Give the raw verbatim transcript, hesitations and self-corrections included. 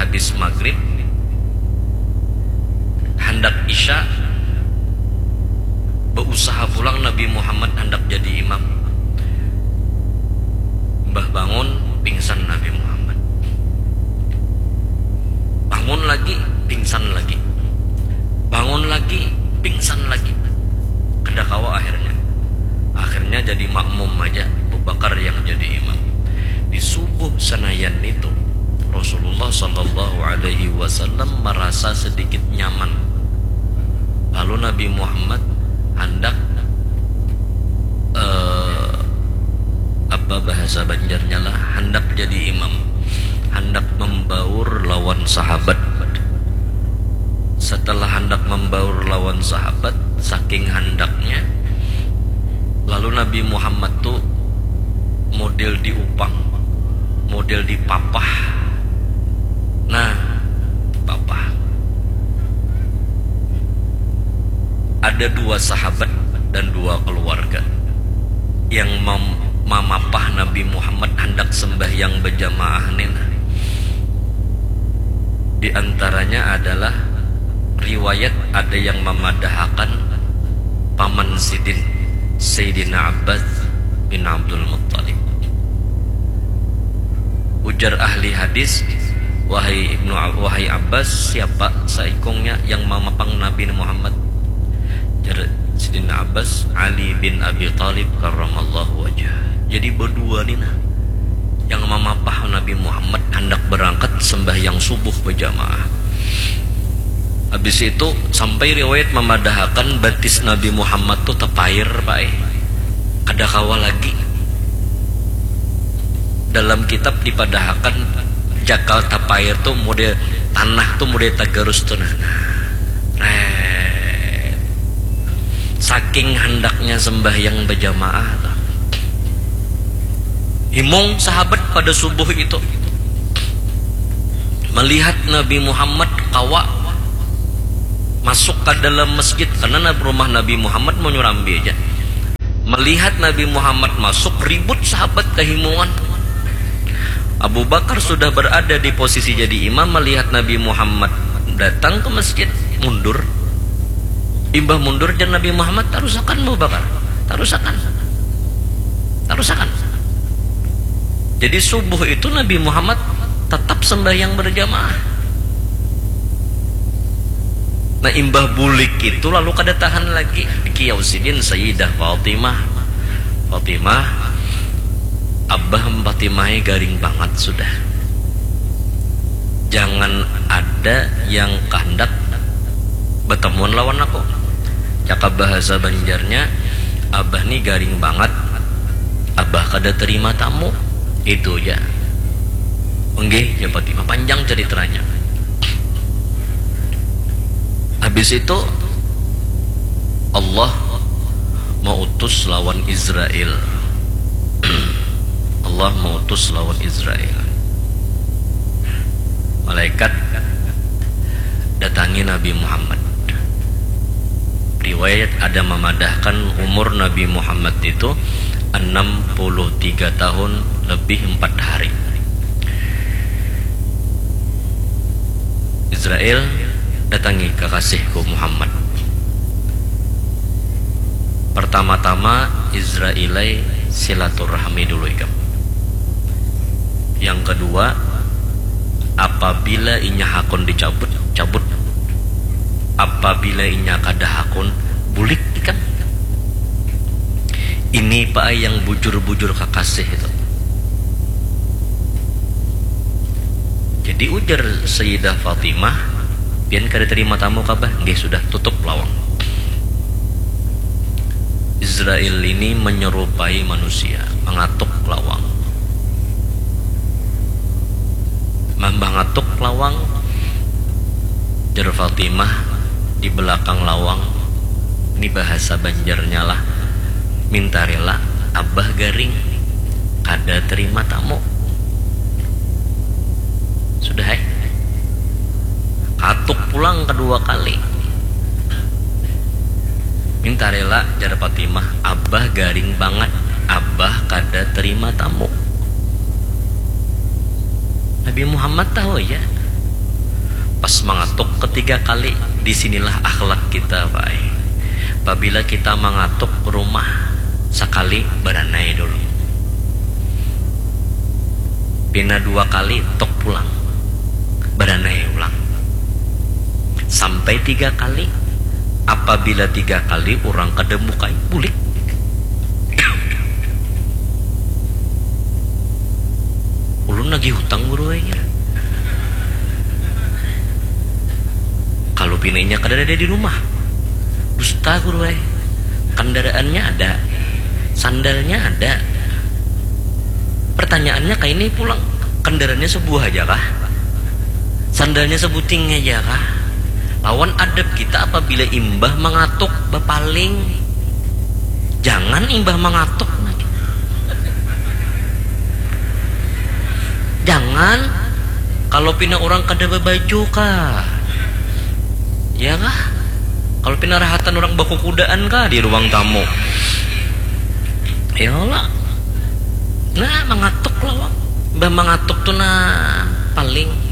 Habis maghrib, handak isya, beusaha pulang Nabi Muhammad handak jadi imam. Mbah bangun, pingsan Nabi Muhammad. Bangun lagi, pingsan lagi. Bangun lagi, pingsan lagi. Kada kawa akhirnya. Akhirnya jadi makmum aja, Abu Bakar yang jadi imam. Di subuh Senayan itu, Rasulullah Shallallahu Alaihi Wasallam merasa sedikit nyaman. Lalu Nabi Muhammad hendak, eh, apa bahasa Banjarnya lah, hendak jadi imam, hendak membaur lawan sahabat. Setelah hendak membaur lawan sahabat, saking handaknya, lalu Nabi Muhammad tu model diupang, model dipapah. Nah, papah. Ada dua sahabat dan dua keluarga yang mem- mamapah Nabi Muhammad handak sembahyang berjamaah ni, nah. Di antaranya adalah riwayat ada yang memadahakan paman sidin, Sayyidina Abbas bin Abdul Muttalib. Ujar ahli hadis, "Wahai Ibnu Ab-, wahai Abbas, siapa saikungnya yang mamapang Nabi Muhammad?" Jar Sidina Abbas, "Ali bin Abi Thalib karramallahu wajhah." Jadi berdua ni nah yang mamapah Nabi Muhammad handak berangkat sembahyang subuh berjamaah. Habis itu sampai riwayat memadahakan batis Nabi Muhammad tu tapair, Pak, eh. Kada kawa lagi. Dalam kitab dipadahakan jakal tapair tu model tanah tu model tagarus tu nah. Nah. Ret. Saking handaknya sembahyang berjamaah tu. Himung sahabat pada subuh itu melihat Nabi Muhammad kawa masuk ke dalam masjid, karena nab-, rumah Nabi Muhammad menyurambi aja. Melihat Nabi Muhammad masuk, ribut sahabat kehimungan. Abu Bakar sudah berada di posisi jadi imam, melihat Nabi Muhammad datang ke masjid, mundur. Imbah mundur, jar Nabi Muhammad, "Tarusakan, Abu Bakar, tarusakan, tarusakan." Jadi subuh itu Nabi Muhammad tetap sembahyang berjamaah. Nah, imbah bulik itu lalu kada tahan lagi, dikiau sidin Sayyidah Fatimah. "Fatimah, Abah Fatimah garing banget sudah. Jangan ada yang kehendak bertemuan lawan aku." Cakap bahasa Banjarnya, "Abah ni garing banget, Abah kada terima tamu." Itu aja. "Nggih," jar Fatimah, panjang ceritanya. Habis itu Allah mautus lawan Israel. Allah mautus lawan Israel. Malaikat datangi Nabi Muhammad. Riwayat ada memadahkan umur Nabi Muhammad itu enam puluh tiga tahun lebih empat hari. Israel datangi kekasihku Muhammad. Pertama-tama Israilai silaturahmi dulu ikam. Yang kedua, apabila inya hakun dicabut, cabut. Apabila inya kada hakun, bulik ikam. Ini pa ai yang bujur-bujur kakasih itu. Jadi ujar Sayyidah Fatimah, "Pian kada terima tamu kah, Bah?" "Nggih, sudah, tutup lawang." Israel ini menyerupai manusia, mengatuk lawang. Mah, mengatuk lawang, jar Fatimah di belakang lawang. Ini bahasa Banjarnya lah. "Minta rela, Abah garing. Kada terima tamu." Sudah, eh. Katuk pulang kedua kali. "Minta rela," jar Fatimah, "Abah garing banget. Abah kada terima tamu." Nabi Muhammad tahu aja. Pas mangatuk ketiga kali, di sinilah akhlak kita, Pak ai. Pabila kita mangatuk rumah sakali, baranai dulu. Pina dua kali, tuk pulang, baranai ulang. Sampai tiga kali. Apabila tiga kali urang kada mukai, bulik. Ulun nagih hutang, Guru ai, jar. Kalu pina inya kadada di rumah, dusta, Guru ai. Kendaraannya ada, sandalnya ada. Pertanyaannya kaini pulang, kendaraannya sebuah aja kah? Sandalnya sebuting aja kah? Lawan adab kita apabila imbah mangatuk, bapaling. Jangan imbah mangatuk. Jangan. Kalau pina orang kada babaju kah? Ya kah? Kalau pina rahatan orang bakukudaan kah di ruang tamu? Ya lah. Nah, mangatuk lah, Wak. Bah mangatuk tu nah paling.